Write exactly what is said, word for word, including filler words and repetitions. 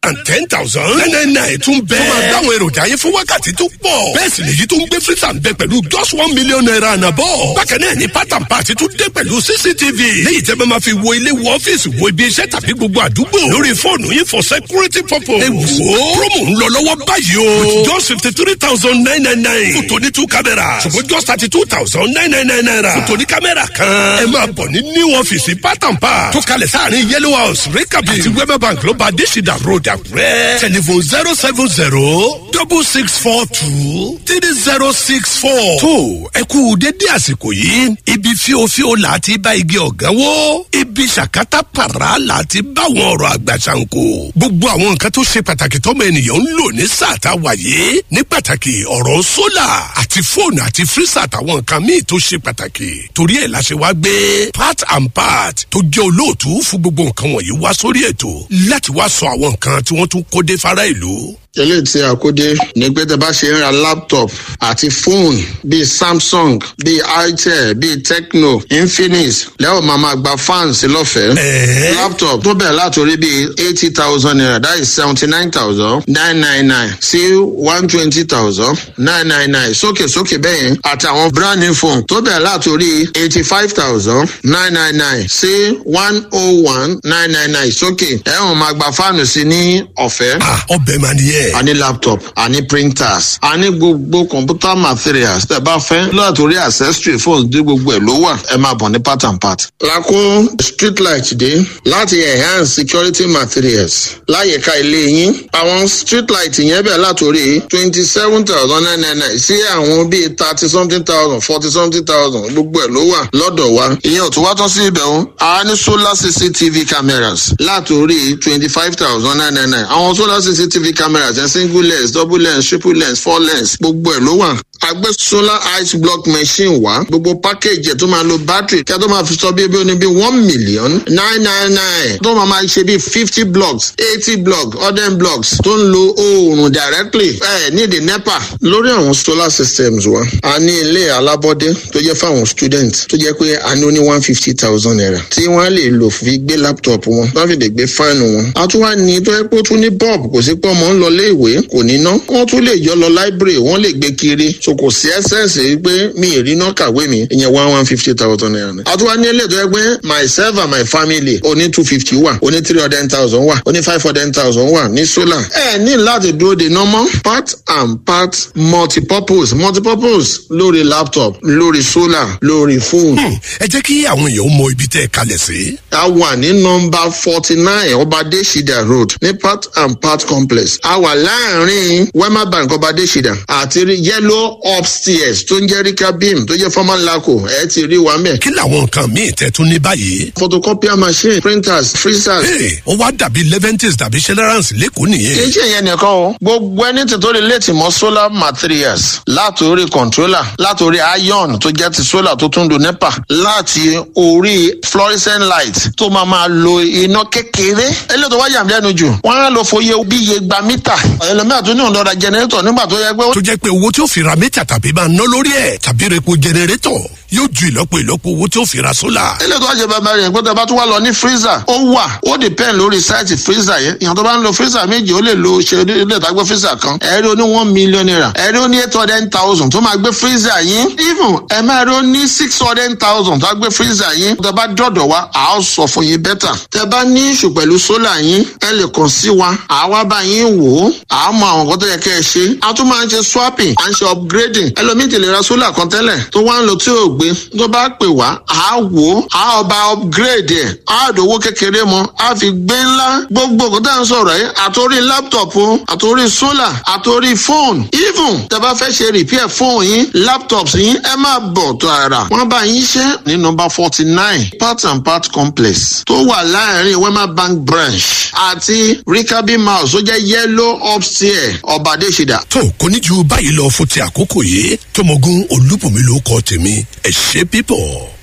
and ten thousand nine nine nine tún bẹ́ẹ̀. Tó máa dáwọn èròjà yẹn fún wákàtí tó pọ̀. Bẹ́ẹ̀ sì lèyí tó ń gbé freezer ń bẹ pẹ̀lú just one million naira and above. Bákan náà ni part and part tún dé pẹ̀lú C C T V. Léyìí tẹ́ bá máa fi wo ilé, wo ọ́fíìsì, wo ibi iṣẹ́ tàbí gbogbo àdúgbò lórí fóònù yín for security purpose. Ẹ wò ó, promo ń lọ lọ́wọ́ báyìí o. With just fifty three thousand nine nine nine fún tòní two cameras, ṣùgbọ́n just thirty two thousand nine nine nine naira fún tòní kámẹ́rà kan. Ẹ máa bọ̀ ní new office Part and Part tó kalẹ̀ sáàrin Yellow House, Rikabi àti Wema Bank ló bá Adésìdá Road, Àkúrẹ́. Telephone zero seven zero double six four two three zero six four. Tó ẹ kú dédé àsìkò yìí. Ibi fíofío là á ti bá igi ọ̀gán wó, ibi ṣàkátà pàrà là á ti bá àwọn ọ̀rọ̀ àgbà ṣàǹkó. Gbogbo àwọn nǹkan tó ṣe pàtàkì tọ́mọ ènìyàn ń lò ní sáà tá a wà yìí, ní pàtàkì ọ̀rọ̀ solar àti fóònù àti freezer àtàwọn nǹkan míì tó ṣe pàtàkì. Torí ẹ̀ la ṣe wá gbé Part and Part tó jẹ́ olóòtú fún gbogbo nǹkan wọ̀nyí wá sórí ètò láti wá sọ àwọn nǹkan tí wọ́n tún kó dé fara ìlú. Eléyìí tí a kó dé ní pé tẹ bá ṣe ń ra laptop àti fóònù bíi Samsung, bíi Itel, bíi Tecno, Infinix, lẹ́wọ̀n máa ma gba fans lọ́fẹ̀ẹ́. Ẹ̀ẹ́. Laptop tó bẹ̀rẹ̀ látòrí bíi eighty thousand naira, that is seventy nine thousand nine nine nine sí one twenty thousand nine nine nine sókè sókè bẹ́ẹ̀ yẹn, àtàwọn brand new phone tó bẹ̀rẹ̀ látòrí eighty five thousand nine nine nine sí one oh one nine nine nine sókè, ẹ̀wọ̀n máa gba fáànù sí ní ọ̀fẹ́. Ah, ọbẹ̀ máa nìyẹn. A ní laptop, a ní printers, a ní gbogbo computer materials tẹ́ bá fẹ́, látòrí accessory phones dé, gbogbo ẹ̀ ló wà. Ẹ máa bọ̀ ní Part and Part. Lakún street light dé láti enhance security materials láyìíká ilé yín. Àwọn street light yẹn bẹ̀ látòrí twenty seven thousand nine nine nine sí àwọn bíi thirty something thousand, forty something thousand, gbogbo ẹ̀ ló wà lọ́dọ̀ wa. Ìyẹn ò tún wá tán sí ibẹ̀ o. A ní solar C C T V cameras látòrí twenty five thousand nine nine nine. Àwọn solar C C T V cameras yẹn, single lens, double lens, triple lens, four lens, gbogbo ẹ̀ ló wà. A gbé solar ice block machine wá, gbogbo package ẹ̀ tó máa lo battery kí a tó máa fi sọ bí ebi oní bí one million nine nine nine tó máa máa ṣe bí fifty blocks, eighty blocks, hundred blocks, tó ń lo oòrùn directly ẹ ní the NEPA. Lórí àwọn solar systems wa, a ní ilé alábọ́dé tó jẹ́ fáwọn student, tó jẹ́ pé a ní ó ní one fifty thousand naira tí wọ́n lè lò fi gbé laptop wọn, wọ́n fi lè gbé fáànù wọn. A tún wá ní tó yẹ pé ó tún ní bulb, kò sí pé ọmọ ń lọ ilé ìwé kò ní ná, wọ́n tún lè yọ lọ library, wọ́n lè gbé kiri, so kò sí essence pé mi ì rí iná kàwé mi. Ìyẹn one one fifty thousand naira ni. A tún wá ní ilé tó yẹ pé myself and my family, oní two fifty wà, oní three hundred thousand wà, oní five hundred thousand wà ní solar. Ẹ ní láti dúró de normal Part and Part multipurpose multipurpose lórí laptop, lórí solar, lórí phone. Ẹ jẹ́ kí àwọn èèyàn mọ ibi tẹ́ ẹ kalẹ̀ sí. A wà ní nọmba forty nine Ọbadẹ́sídà Road ní Part and Part Complex. A wà láàrin Wema Bank, Ọbadẹ́sídà àti Yellow Upstairs tó ń jẹ́ Rikabim, tó jẹ́ former LACO. Ẹ ti rí wa mẹ́. Kí làwọn nǹkan míì tẹ́ tún ní báyìí? Photocopier machine, printers, freezers. Hey, ó wá dàbí Leventis tàbí Celeran's lẹ́kọ̀ọ́ nìyẹn. Kì í ṣe ìyẹn nìkan o. Gbogbo ẹni tí tó lè létí mọ́ solar materials, látòrí controller, látòrí iron tó jẹ́ ti solar tó tún do NEPA, láti orí fluorescent light tó máa máa lo iná kékeré. Eléyìí tó wá yà mí lẹ́nu jù, wọ́n á lọ fòye bí iye gba mítà. Ẹlòmíràn tó ní òun lọ ra generator nígbà tó yẹ pé. Tó jẹ́ pé owó tí ó fi ra mítà tàbí máa ná lórí ẹ̀ tàbí repo generator yóò ju ìlọ́po ìlọ́po owó tí ó fi ra solar. Eléyìí tó wá ṣe bàbá rẹ̀ pé tó bá tún wá lọ ní freezer, ó wà. Ó depend lórí size freezer yẹn. Ìyàn tó bá ń lo freezer méjì, ó lè lo ṣe ilé ìtagbé freezer kan. Ẹ̀rí oní one million naira, ẹ̀rí oní eight hundred thousand tó máa gbé freezer yín, even ẹ̀ máa rí oní six hundred thousand tó gbé freezer yín. Tó bá dọ̀dọ̀ wa, à á sọ fún yín better. Tẹ bá ní issue pẹ̀lú solar yín, ẹ lè kàn sí wa, à wá bá yín wò ó, à á mọ àwọn nǹkan tó yẹ kẹ́ ẹ ṣe. A tún máa ń ṣe swapping, à ń ṣe upgrading. Ẹlòmíì ti lè ra solar kan tẹ́lẹ̀ tó wá ń lo tí ò gbé, tó bá pè wá, à á wò ó, à á ọba upgrade ẹ̀, á dòwó kékeré mọ́, á fi gbé ńlá. Gbogbo nǹkan tá à ń sọ̀rọ̀ yìí, àtòrí laptop o, àtòrí solar, àtòrí phone, even tẹ bá fẹ́ ṣe repair phone yín, laptops yín, ẹ máa bọ̀ tààrà, wọ́n bá yín ṣe ní nọmba forty nine Part and Part Complex tó wà láàrin Wema Bank branch àti Rikabi House tó jẹ́ Yellow Upstairs, Ọ̀bàdéṣidà. Tó kò ní ju báyìí lọ fún ti àkókò yìí. Tọmọgún Olúbùnmi ló kọ tèmi. Ẹ ṣe pípọ̀.